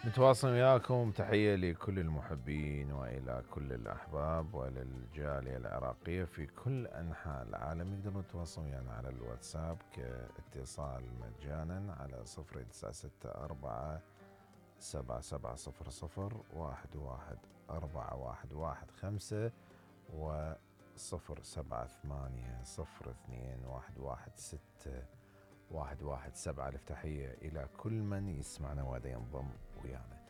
نتواصل وياكم. تحية لكل المحبين وإلى كل الأحباب وللجالية العراقية في كل أنحاء العالم. يقدرون يتواصلون ويانا على الواتساب كاتصال مجانا على 096-4700-114115 و 078-02-116 ألف تحية إلى كل من يسمعنا وهذا ينضم ويانا.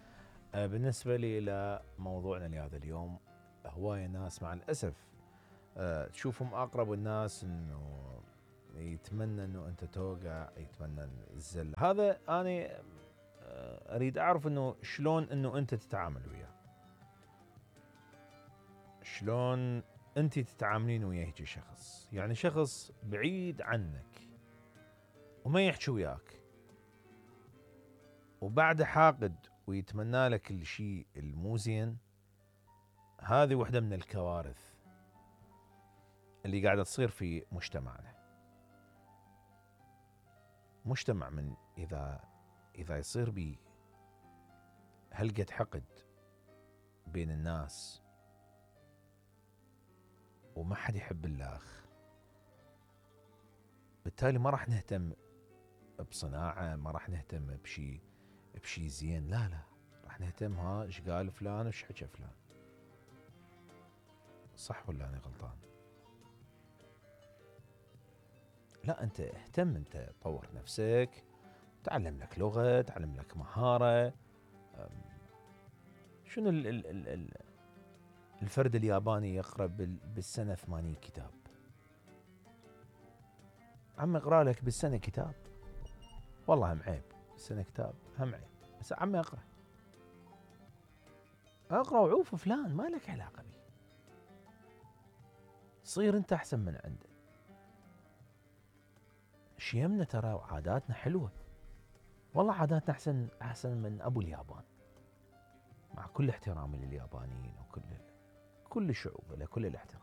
بالنسبة لي إلى موضوعنا لهذا اليوم، هواية ناس مع الأسف تشوفهم أقرب الناس إنه يتمنى إنه أنت توقع، يتمنى الزل. هذا أنا أريد أعرف إنه شلون إنه أنت تتعامل وياه، شلون أنت تتعاملين وياه هيك شخص، يعني شخص بعيد عنك وما يحكي وياك وبعد حاقد ويتمنى لك الشيء المو زين. هذه واحدة من الكوارث اللي قاعدة تصير في مجتمعنا. مجتمع من إذا يصير بي هلقة حقد بين الناس وما حد يحب الآخ، بالتالي ما راح نهتم بصناعة، ما راح نهتم بشي زين، لا راح نهتم ايش قال فلان وايش حكى فلان. صح ولا أنا غلطان؟ لا، أنت اهتم، أنت طور نفسك، تعلم لك لغة، تعلم لك مهارة. شنو الفرد الياباني يقرأ بالسنة 80 كتاب؟ عم اقرأ لك بالسنة كتاب، والله هم عيب. السنة كتاب هم عيب، بس عم اقرأ وعوف فلان ما لك علاقة بي. صير انت احسن من عنده. شيمنا ترى وعاداتنا حلوة، والله عاداتنا احسن من ابو اليابان، مع كل احترامي لليابانيين وكل الشعوب له كل الاحترام.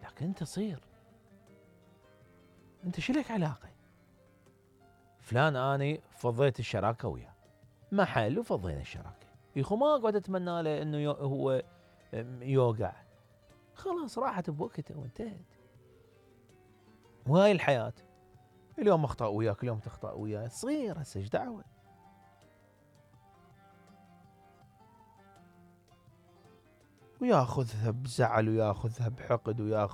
لكن انت صير انت شلك علاقة؟ فلان اني فضيت الشراكة وياه، محل وفضينا الشراكة، يخو ما اقعد اتمنى له انه هو يوقع، خلاص راحت بوقتها وانتهت. وهاي الحياة، اليوم اخطأ وياك، اليوم تخطأ وياه، صغير هسه ايش دعوة. وياخذها بزعل وياخذها بحقد وياخذ